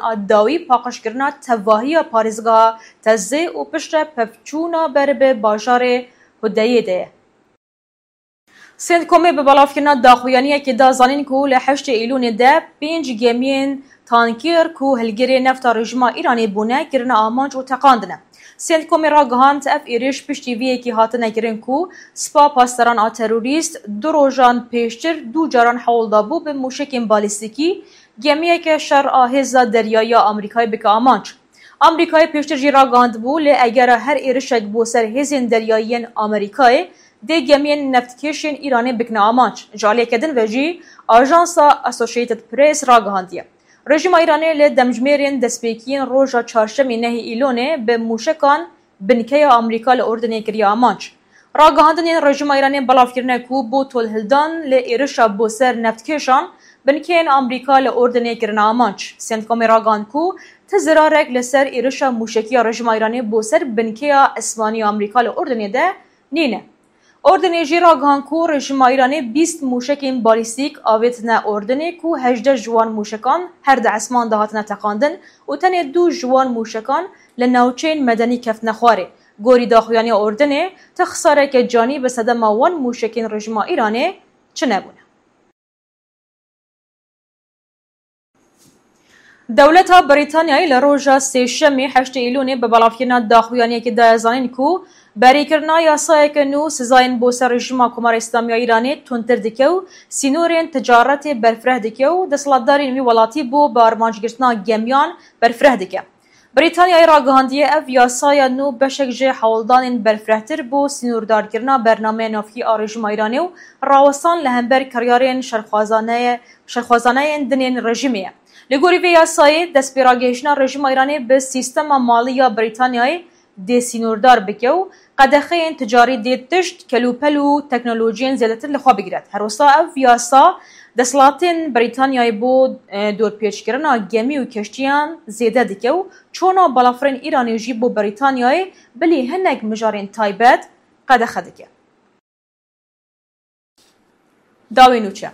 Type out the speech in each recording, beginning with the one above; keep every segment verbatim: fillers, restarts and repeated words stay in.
a dawî paqijkirina tevahiya parêzgeha Tezê û piştre pevçûna ber bi bajarê Hudeyê de ye. Centcomê bi belavkirina daxuyaniyekê da zanîn ku li heştê Îlûnê de pênc gemiyên tankêr ku hilgirê nefta rejîma Îranê bûne, kirine amanc û teqandine. Centcomê ragihand, ev êrîş piştî vê yekê hatine kirin ku Spa Pasdaran a terorîst du rojan pêştir du caran hewl dabû bi mûşekên balîstîkî gemiyeke şer a hêza deryayî ya Amerîkayê bike amanc. Amerîkayê pêştir jî ragihandibû, lê egera her êrişek bo ser hêzên deryayî yên Amerîkayê dê gemiyên neftkêşên Îranê bikine amanc. Ji aliyeke din ve jî ajansa Associated Press ragihandiye. Rejîma Îranê li demjimêrên destpêkiyên roja çarşemê nehê Îlonê bi mûşekan binkeya Amerîka li Urdinê kiriye amanc. Ragihandinên rejîma Îranê belav kirine ku bo tolhildan li êrişa bo ser neftkêşan, binkeyên Amerîka li Urdinê kirine amanc. Centcomê ragihand ku ti zirarek li ser êrişa mûşekî ya rejîma Îranê bo ser binkeya esmanî ya Amerîka li Urdinê de nîne. Urdinê jî ragihand ku rejîma Îranê bîst mûşekên balîstîk avêtine Urdinê ku hejdeh ji wan mûşekan her di esman de hatine teqandin û tenê du ji wan mûşekan li navçeyên medenî keftine xwarê. Gorî daxuyaniya Urdinê, ti xisareke canî bi sedema wan mûşekên rejîma Îranê çinebûne. Dewleta Brîtanyayê li roja sêşemê heştê Îlûnê bi belavkirina daxuyaniyekê daye zanîn ku berîkirina yasayeke nû sizayên bo ser rejîma Komara Îslamî ya Îranê tundtir dike û sînorên ticaretê berfireh dike û desthilatdarên wî welatî bo bi armancgirtina gemiyan berfireh dike. Brîtanyayê ragihandiye, ev yasaya nû beşek ji hewldanên berfirehtir bo sînordarkirina bernameya navkî a rejîma Îranê û rawestan li hember kiryarên şerxwazaneye-, şerxwazaneyên dinên rejîmê ye. Li gorî vê yasayê, destpêragihiştina rejîma Îranê bi sîstema malî ya Brîtanyayê dê sînordar bike û qedexeyên ticarî dê tişt, kelûpel û teknolojiyên zêdetir li xwe bigire. Her wisa ev yasa desthilatên Brîtanyayê bo, e, dorpêçkirina gemî û keştiyan zêde dike û çona balafirên Îranê jî bo Brîtanyayê bilî hinek mijarên taybet qedexe dike. Dawî nûçe.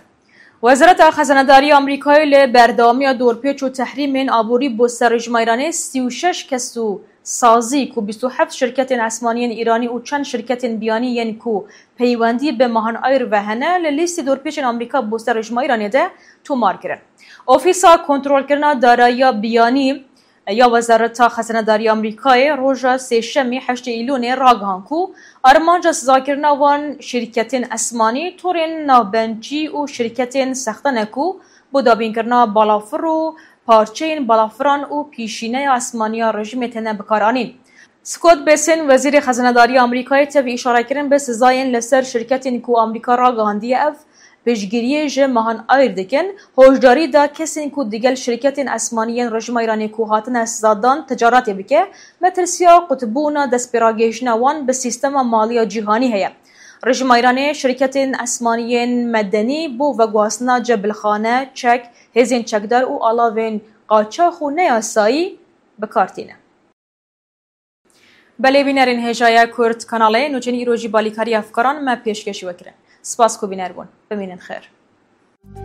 Wezareta Xezenedariya Amerîkayê li berdewamiya dorpêç û tehrîmên aborî bo ser rejîma Îranê sî û şeş kes û sazî ku bîst û heft şirketên esmaniyên Îranî û çend şirketên biyanî yên ku peywendî bi Mahan Ayr ve hene, li lîstê dorpêçên Amerîka bo ser rejîma Îranê de tomar kirin. Ofîsa Kontrolkirina Darayiya Biyanî ya Wezareta Xezenedariya Amerîkayê roja sêşemê heştê Îlûnê ragihan ku armanca sizakirina wan şirketên esmanî, torên navbencî û şirketên sexte ne ku bo dabînkirina balafir û parçeyên balafiran û pîşîneya esmanî ya rejîmê têne bikaranîn. Scott Bessent, wezîrê xezinedariya Amerîkayê, tevî îşarekirin bi sizayên li ser şirketên ku Amerîka ragihandiye ev piştgiriyê ji Mahan Ayr dikin, hoşdarî da kesên ku digel şirketên esmanî yên rejîma Îranê ku hatine sizadan ticaretê bike, metirsiya qutbûna destpêragihiştina wan bi sîstema malî ya cîhanî heye. Rejîma Îranê şirketên esmanî yên medenî bo veguhastina cebilxane, çek, hêzên çekdar û alavên qaçax û neyasayî bi kar tîne. Belê bînerên hêjaya Kurd Kanalê, nûçeyên îro jî balîkariya fikaran me pêşkêşî we kirin. Spas ku bîner bûn. Bimînin xêr.